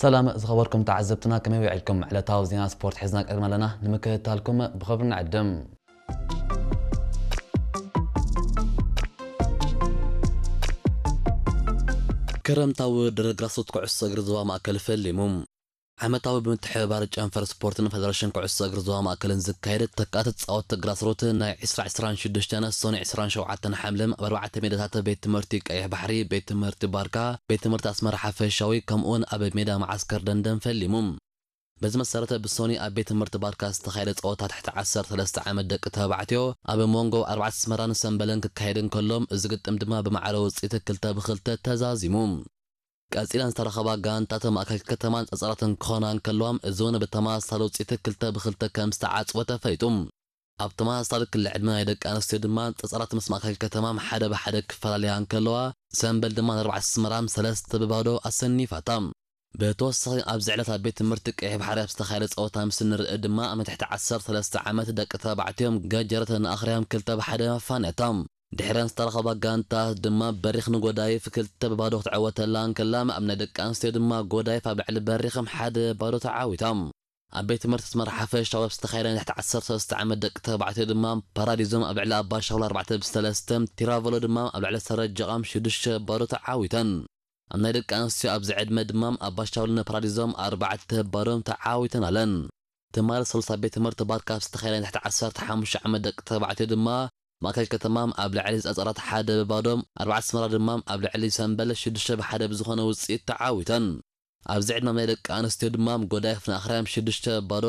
ሰላም ዝኸበርኩም ተዓዘብትና፣ ከመይ ውዒልኩም? ዕለታዊ ዜና ስፖርት ሒዝና ቀሪብና ኣለና፣ ንምክትታልኩም ብኽብሪ ንዕድም። ክረምታዊ ውድድር ግራስሩት ኩዕሶ እግሪ ዞባ ማእከል ፈሊሙ። ዓመታዊ ብምትሕብባር ጨንፈር ስፖርትን ፌደሬሽን ኩዕሶ እግሪ ዞባ ማእከልን ዝካየድ ተካእቲ ተጻወትቲ ግራስሩት ናይ ዕስራ ዕስራን ሽዱሽተን ሰኑይ ዕስራን ሸውዓተን ሓምለ ኣብ ኣርባዕተ ሜዳታት ቤት ትምህርቲ ቀይሕ ባሕሪ፣ ቤት ትምህርቲ ባርካ፣ ቤት ትምህርቲ ኣስመራ ሓፈሻዊ ከምኡውን ኣብ ሜዳ መዓስከር ደንደን ፈሊሙ። በዚ መሰረት ብሰኑይ ኣብ ቤት ትምህርቲ ባርካ ዝተኻየደ ጸወታ ትሕቲ ዓሰርተ ሰለስተ ዓመት ደቂ ተባዕትዮ ኣብ መንጎ ኣርባዕተ ኣስመራን ሰምበልን ክካየድ እንከሎ፣ እዚ ግጥም ድማ ብማዕረ ውጽኢት ክልተ ብክልተ ተዛዚሙ። ቀጺለን ዝተረኸባ ጋንታት ማእከል ከተማን ጸጸራትን ክኾና እንከለዋ፣ እዚ እውን ብተመሳሳሊ ውጽኢት ክልተ ብክልተ ከም ዝተዓጽወ ተፈሊጡ። ኣብ ተመሳሳሊ ክሊ ዕድመ ናይ ደቂ ኣንስትዮ ድማ ጸጸራት ምስ ማእከል ከተማ ሓደ ብሓደ ክፈላለያ እንከለዋ፣ ሰምበል ድማ ንኣርባዕተ ኣስመራ ሰለስተ ብባዶ ኣሰኒፋታ። ብተወሳኺ ኣብዚ ዕለት ኣብ ቤት ትምህርቲ ቀይሕ ባሕሪ ኣብ ዝተኻየደ ጸወታ ምስ እንርኢ ድማ ኣብ ትሕቲ ዓሰርተ ሰለስተ ዓመት ደቂ ተባዕትዮም ገጀረት ንኣኽርያም ክልተ ብሓደ ኣፋንያታ። ድሕረን ዝተረኸባ ጋንታት ድማ በሪኽ ንጎዳይፍ ክልተ ብባዶ ክትዕወተላ እንከላ፣ ኣብ ናይ ደቂ ኣንስትዮ ድማ ጎዳይፍ ኣብ ልዕሊ በሪኽም ሓደ ባዶ ተዓዊታ። ኣብ ቤት ትምህርቲ ኣስመራ ሓፈሻዊ ኣብ ዝተኻየደ ናይ ትሕቲ ዓሰርተ ሰለስተ ዓመት ደቂ ተባዕትዮ ድማ ፓራዲዞም ኣብ ልዕሊ ኣባሻውል ኣርባዕተ ብሰለስተ፣ ቲራቨሎ ድማ ኣብ ልዕሊ ሰረጀቓም ሽዱሽተ ባዶ ተዓዊተን። ኣብ ናይ ደቂ ኣንስትዮ ኣብዚ ዕድመ ድማ ኣባሻውልን ፓራዲዞም ኣርባዕተ ባዶም ተዓዊተን ኣለን። ትማሊ ሰሉስ ኣብ ቤት ትምህርቲ ባርካ ኣብ ዝተኻየደ ናይ ትሕቲ ዓሰርተ ሓሙሽተ ዓመት ደቂ ተባዕትዮ ድማ ማእከል ከተማ ኣብ ልዕሊ ጸጸራት ሓደ ብባዶ፣ ኣርባዕተ ኣስመራ ድማ ኣብ ልዕሊ ሰምበል ሽዱሽተ ብሓደ ብዝኾነ ውጽኢት ተዓዊተን። ኣብዚ ዕድመ ናይ ደቂ ኣንስትዮ ድማ ጎዳይፍ ንኣኽርያም ሽዱሽተ ባዶ፣